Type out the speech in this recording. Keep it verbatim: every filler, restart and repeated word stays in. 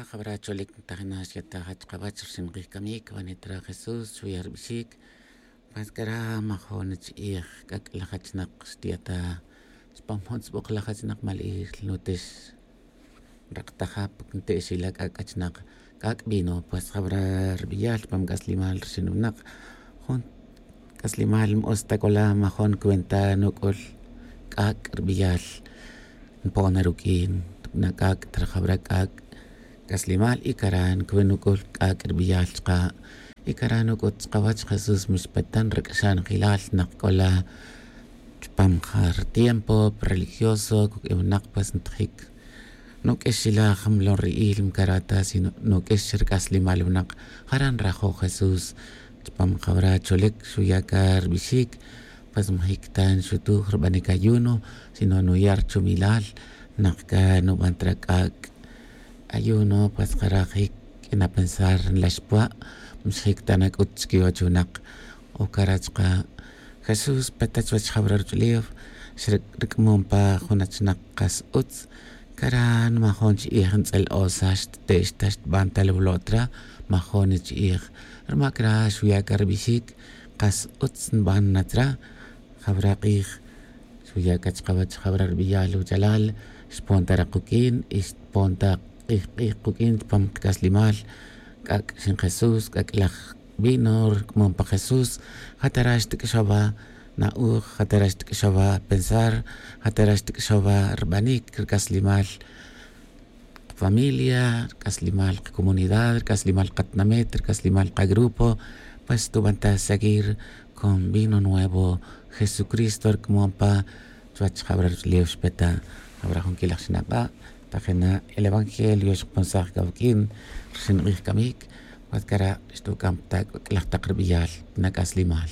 Jawara cholic ntajina xyata jach kawach rxin kij camic vanitra jesús xuya' rbixic. Pues cara majon chi'ij c'ac' laj jachnak xtiyata chupam jun tz'buk laj jachnak mali'ij nutix nraktaja nte'xila c'ac' achnak. C'ac' vino pues jawara rbiyal chupam c'aslimal rxin winak jun c'aslimal n-utz ta c'ola majon cuenta nuc'ul. C'ac' rbiyal npon na ruq'uin na c'ac' trajawra c'ac' c'aslimal y cara ncuwi nuc'ul c'ac' rbiyal chka'. Y cara nuc'ut chkawach jesús mixpatan rac'axan jilal nak c'ola chupam ja rtiempo religioso cuq'uin winak pues ntajic. Nuq'uix xilaj mlon ri'il mcarata sino nuq'uix rc'aslimal winak. Jara nrajo' jesús chupam jawara cholic xuya' ca rbixic. Pues majic ta nxutuj rbanic ayuno sino nuya' rchumilal. Nak ca nuban ta rac'ac' ayuno pues jara jic q'uina pensar nlax pua'. Mxjic ta nac'ut chiquiwach winak. O cara chka' jesús peta chuwech jawara ruch'ulew xric'mon pa jun achnak kas utz. Cara nmajon chi'ij ntz'el osa xtte'x ta xtban ta lawlo'tra. Majon chi'ij rma cara xuya' ca rbixic kas utz nban natra. Jawara k'ij xuya' ca chkawach jawara rbiyal wuchalal xpon ta ra kuq'uin y xpon ta k'ij k'ij kuq'uin chupam kac'aslimal. C'ac' xin jesús c'ac' laj vino rc'amon pa jesús. Jatara xtc'axawa na'uj jatara xtc'axawa pensar jatara xtc'axawa rbanic rc'aslimal kafamilia rc'aslimal kacomunidad rc'aslimal katinamit rc'aslimal kagrupo. Pues tuban ta seguir con vino nuevo jesucristo rc'amon pa chuwech jawara ruch'ulew xpeta. Jawara jun quilaj xinak'a' tajina el evangelio xkponsaj cawq'uin rxin k'ij camic. Pues cara xtuc'am ta c'uc'laj tak rbiyal na c'aslimal.